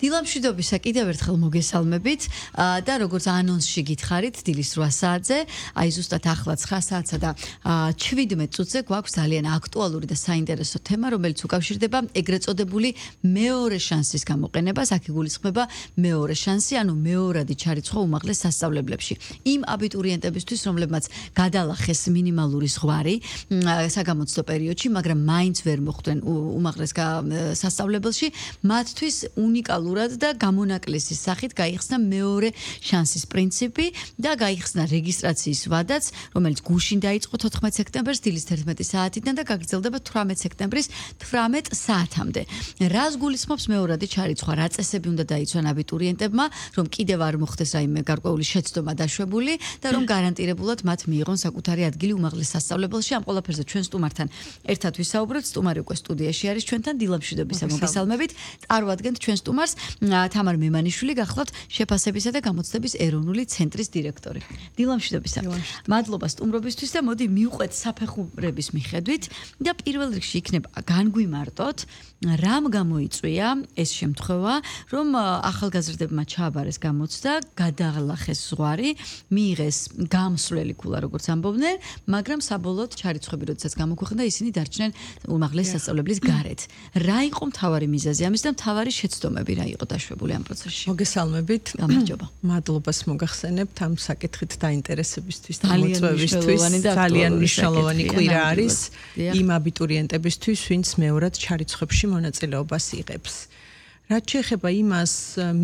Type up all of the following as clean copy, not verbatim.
დილამშვიდობისა კიდევ ერთხელ მოგესალმებით და როგორც ანონსში გითხარით დილის 8 საათზე, აი ზუსტად ახლა 9 საათსა და 17 წუთზე გვაქვს ძალიან აქტუალური და საინტერესო თემა, რომელიც უკავშირდება ეგრეთ წოდებული მეორე შანსის გამოყენებას. აქ იგულისხმება მეორე შანსი, ანუ მეორადი ჩარიცხვა უმაღლეს სასწავლებლებში. იმ აბიტურიენტებისთვის, რომლებმაც გადალახეს მინიმალური ზღვარი საგამოცდო პერიოდში, მაგრამ მაინც ვერ მოხვდნენ უმაღლეს სასწავლებელში, მათთვის უნიკალურად და გამონაკლისის სახით გაიხსნა მეორე შანსის პრინციპი და გაიხსნა რეგისტრაციის ვადაც, რომელიც გუშინ დაიწყო 14 სექტემბერს დილის 11 საათიდან და გაგრძელდება 18 სექტემბრის 18 საათამდე. რას გულისხმობს მეორადი ჩარიცხვა? რა წესები უნდა დაიცვან აბიტურიენტებმა, რომ კიდევ არ მოხდეს რაიმე გარკვეული შეცდომა დაშვებული და რომ გარანტირებულად მათ მიიღონ საკუთარი ადგილი უმაღლეს სასწავლებელში. ამ ყველაფერზე ჩვენ სტუმართან ერთად ვისაუბროთ. სტუმარი უკვე სტუდიაში არის ჩვენთან. დილამშვიდობისა მოგესალმებით. წარვადგენთ ჩვენ სტუმარს თამარ მემანიშვილი, გახლავთ შეფასებისა და გამოცდების ეროვნული ცენტრის დირექტორი. დილამშვიდობისა. მადლობა სტუმრობისთვის და მოდი მივყვეთ საფეხურების მიხედვით და პირველ რიგში იქნება განგვიმარტოთ, რამ გამოიწვია ეს შემთხვევა, რომ ახალგაზრდებმა ჩააბარეს გამოცდა, გადაალახეს ზღვარი, მიიღეს გამსვლელი ქულა, როგორც ამბობდნენ, მაგრამ საბოლოოდ ჩარიცხვები, როდესაც გამოქვეყნდა, ისინი დარჩნენ უმაღლეს სასწავლებლის გარეთ. რა იყო მთავარი მიზეზი ამის და მთავარი შეცდომები რა იყო დაშვებული ამ პროცესში? მოგესალმებით. გამარჯობა. მადლობას მოგახსენებთ ამ საკითხით დაინტერესებისთვის და მოწვევისთვის. ძალიან მნიშვნელოვანი კვირა არის იმ აბიტურიენტებისთვის, ვინც მეორად ჩარიცხვებში მონაწილეობას იღებს. რაც შეეხება იმას,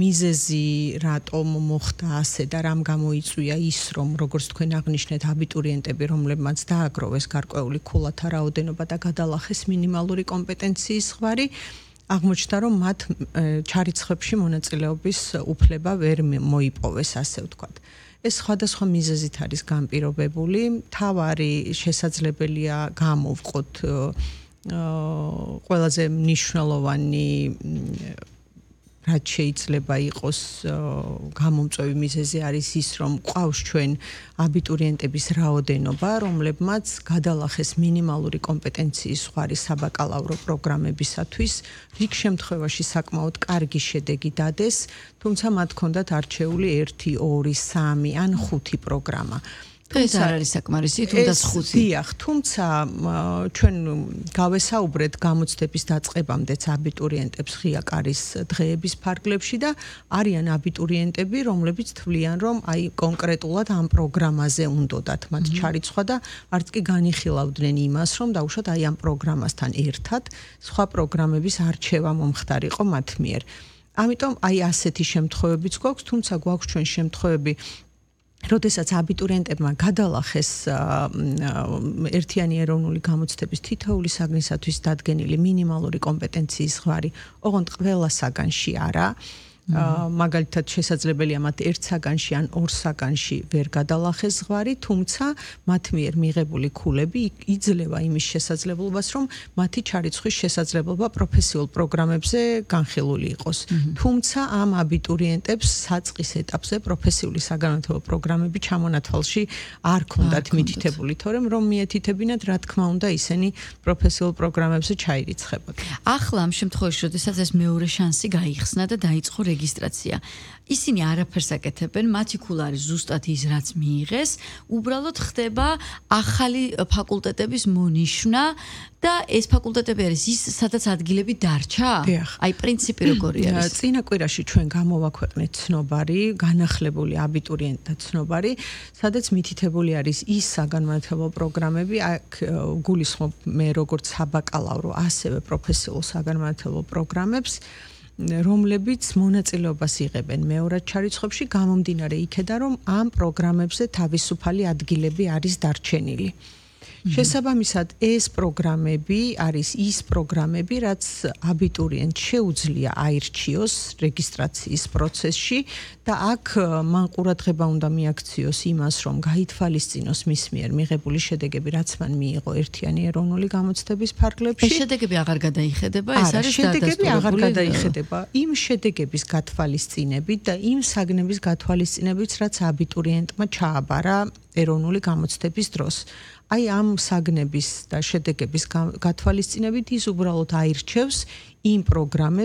მიზეზი რატომ მოხდა ასე და რამ გამოიწვია ის, რომ როგორც თქვენ აღნიშნეთ, აბიტურიენტები, რომლებმაც დააგროვეს გარკვეული ქულათა რაოდენობა და გადალახეს მინიმალური კომპეტენციის ზღვარი, აღმოჩნდა, რომ მათ ჩარიცხვებში მონაწილეობის უფლება ვერ მოიპოვეს, ასე ვთქვათ. ეს სხვადასხვა მიზეზით არის განპირობებული. მთავარი შესაძლებელია გამოვყოთ ყველაზე მნიშვნელოვანი რაც შეიძლება იყოს გამომწვევი მიზეზი არის ის, რომ ყავს ჩვენ აბიტურიენტების რაოდენობა, რომლებმაც გადალახეს მინიმალური კომპეტენციის ზღვარი საბაკალავრო პროგრამებისათვის, რიგ შემთხვევაში საკმაოდ კარგი შედეგი დადეს, თუმცა მათ ჰქონდათ არჩეული 1, 2, 3 ან 5 პროგრამა. ეს არ არის საკმარისი, თუნდაც 5. დიახ, თუმცა ჩვენ გავესაუბრეთ გამოცდების დაწყებამდეც აბიტურიენტებს ღია კარის დღეების ფარგლებში და არიან აბიტურიენტები, რომლებიც თვლიან, რომ აი კონკრეტულად ამ პროგრამაზე უნდათ მათ ჩარიცხვა და არც კი განიხილავდნენ იმას, რომ დაუშვათ აი ამ პროგრამასთან ერთად სხვა პროგრამების არჩევა მომხდარიყო მათ მიერ. ამიტომ აი ასეთი შემთხვევებიც გვაქვს, თუმცა გვაქვს ჩვენ შემთხვევები როდესაც აბიტურიენტებმა გადალახეს ერთიანი ეროვნული გამოცდების თითოეული საგნისათვის დადგენილი მინიმალური კომპეტენციის ზღვარი, ოღონდ ყველა საგანში არა. მაგალითად შესაძლებელია მათ ერთ საგანში ან ორ საგანში ვერ გადალახეს ზღვარი, თუმცა მათ მიერ მიღებული ქულები იძლევა იმის შესაძლებლობას, რომ მათი ჩარიცხვის შესაძლებლობა პროფესიულ პროგრამებზე განხილული იყოს. თუმცა ამ აბიტურიენტებს საწყის ეტაპზე პროფესიული საგანმანათლებლო პროგრამები ჩამონათვალში არ ქონდათ მითითებული, თორემ რომ მიეთითებინათ, რა თქმა უნდა, ისინი პროფესიულ პროგრამებზე ჩაირიცხებოდნენ. ახლა ამ შემთხვევაში, როდესაც ეს მეორე შანსი გაიხსნა და დაიწყო რეგისტრაცია. ისინი არაფერს აკეთებენ, მათი ქულა არის ზუსტად ის, რაც მიიღეს, უბრალოდ ხდება ახალი ფაკულტეტების მონიშნა და ეს ფაკულტეტები არის ის, სადაც ადგილები დარჩა? აი პრინციპი როგორი არის? წინა კვირაში ჩვენ გამოვაქვეყნეთ ცნობარი, განახლებული აბიტურიენტთა ცნობარი, სადაც მითითებული არის ის საგანმანათლებლო პროგრამები, აქ გულისხმობ მე როგორც საბაკალავრო, ასევე პროფესიულ საგანმანათლებლო პროგრამებს, რომლებიც მონაწილეობას იღებენ მეორად ჩარიცხვებში, გამომდინარე იქედან, რომ ამ პროგრამებზე თავისუფალი ადგილები არის დარჩენილი. შესაბამისად, ეს პროგრამები არის ის პროგრამები, რაც აბიტურიენტს შეუძლია აირჩიოს რეგისტრაციის პროცესში და აქ მან ყურადღება უნდა მიაქციოს იმას, რომ გაითვალისწინოს მის მიერ მიღებული შედეგები, რაც მან მიიღო ერთიანი ეროვნული გამოცდების ფარგლებში. ეს შედეგები აღარ გადაიხედება, ეს არის შედეგები აღარ გადაიხედება. იმ შედეგების გათვალისწინებით და იმ საგნების გათვალისწინებით, რაც აბიტურიენტმა ჩააბარა ეროვნული გამოცდების დროს. აი ამ საგნების და შედეგების გათვალისწინებით ის უბრალოდ აირჩევს იმ პროგრამებს,